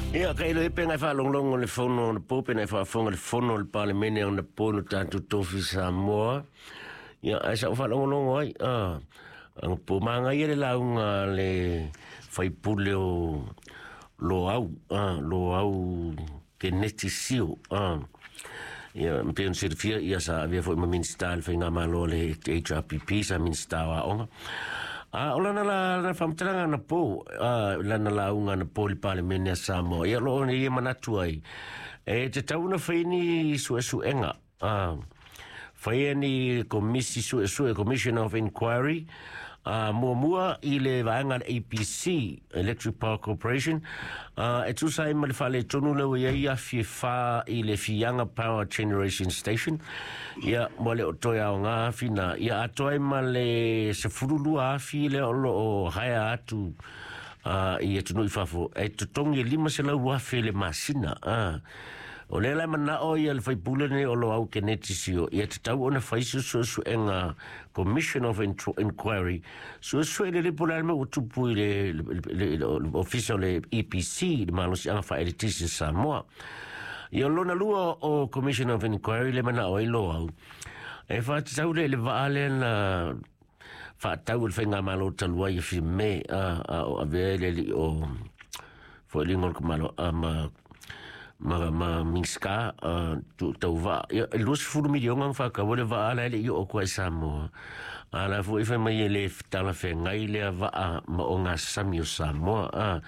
Ia, ka ilo epe ngai whaalonglongo le fono o na pō, pena e whaafonga le fono o le Palemene o na pō no tātou tofi Samoa. Ia, ai sa o whaalongolongo ai, ang pō maanga ia le launga le whaipule o lo au, lo au ke neti sio, Ia, mpe on sirifia, ia sa avia foi ma minista le whainga malo le HRPP, sa minista o aonga. O lana la na whamtaranga na pō, lana la unga na pō li Palemene a Samoa. Ia lo ni ia manatu ai. E te tauna whaini suesuenga. Whaia ni komisi suesue, Commission of Inquiry, mua i le vaenga le APC, Electric Power Corporation, e tusa ai ma le whale tonu lewa ia ia fie wha i le Fianga Power Generation Station. Ia, mo le o toi ao ngā awhina. Ia atoa ma le se furulua awhi le olo o haea atu i e tunui whafo. E tutongi e lima se lau awhi le masina. O le lai mana o ia le whaipule nei o lo au ke neti sio. Ia te tau ona whaisu suesuenga Commission of Inquiry. Suesue le lepo la me o tupu i le ofisa o le EPC, le malosi anga whaeletisi Samoa. Ia lona lua o Commission of Inquiry le mana o i lo au. E whātatau le vaale na whaatau le whainga malo talua i fi me a o avea le li o whaelingo le malo a ma ma minska tu tau va ia lus fulu milionga fa ka wole va ala le i o ko Samoa ala fu ife mai le tala fe ngai le va a ma o ngā sami o Samoa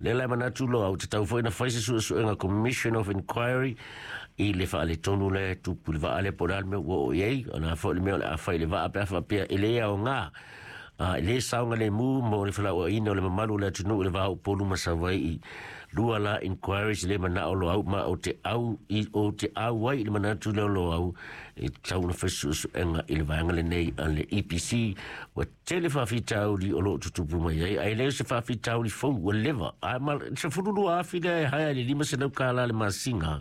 le la mana tu lo au te tau foi na faisi su su nga Commission of Inquiry i le fa le tonu le tu pu le va ale po me wo ye ana fo le me le a fa le va pe fa pe ele o ngā le saunga le mu mo le fala o ina o le mamalu le atunu le vau polu masawai i lua la inquiries le mana o lo au ma o te au i o te au ai le mana tu le lo au e tau na fesu su enga i le vaenga le nei a le EPC wa tele whawhitauri o lo tutupu mai ai ai le se whawhitauri fou ua leva ai ma se fururu afi le haia le lima se lau kāla le masinga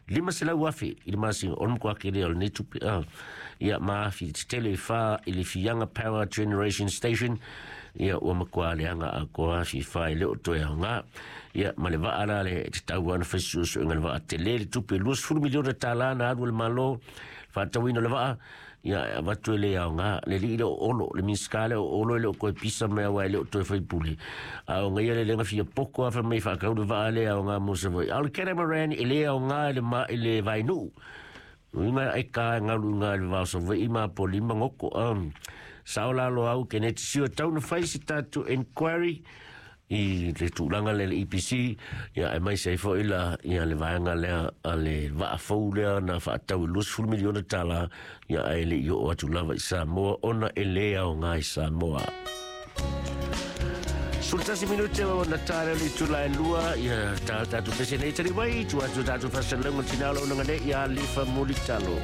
lima se lau afi i le masinga o le mkua kere o le nei tupe ia maafi te tele wha i le Fianga Power Generation Station ia ua makua le anga a koa afi wha i le o toe au ngā ia ma le waa la le te tau ana whaisusu inga le waa te le le tupe 20 miliona tālā na aru le malo whaatawina le waa ia watu le au ngā le li le o olo le minskale o olo le o koe pisa mea wai le o toe whaipule a o ngai le lenga fia poko awha mei whakau le waa le au ngā mosa voi au le catamaran i le au ngā le ma i le vainuu Uinga e ka ngalu ngā le vao sa vai ma po lima ngoko sao la lo au ke ne sio tau na fai si tātou inquiry i le tūlanga le EPC ia e mai sei foi la ia le vaenga lea a le vaafou lea na whaatau i 20 miliona tālā ia e le i o atu lava i Samoa ona e le au ngā i Samoa. Sultasi minute o na tare li tula e lua ia tātou pese nei tari wai tu atu tātou whasalongo tinalo nanga nei ia lifa mulitalo.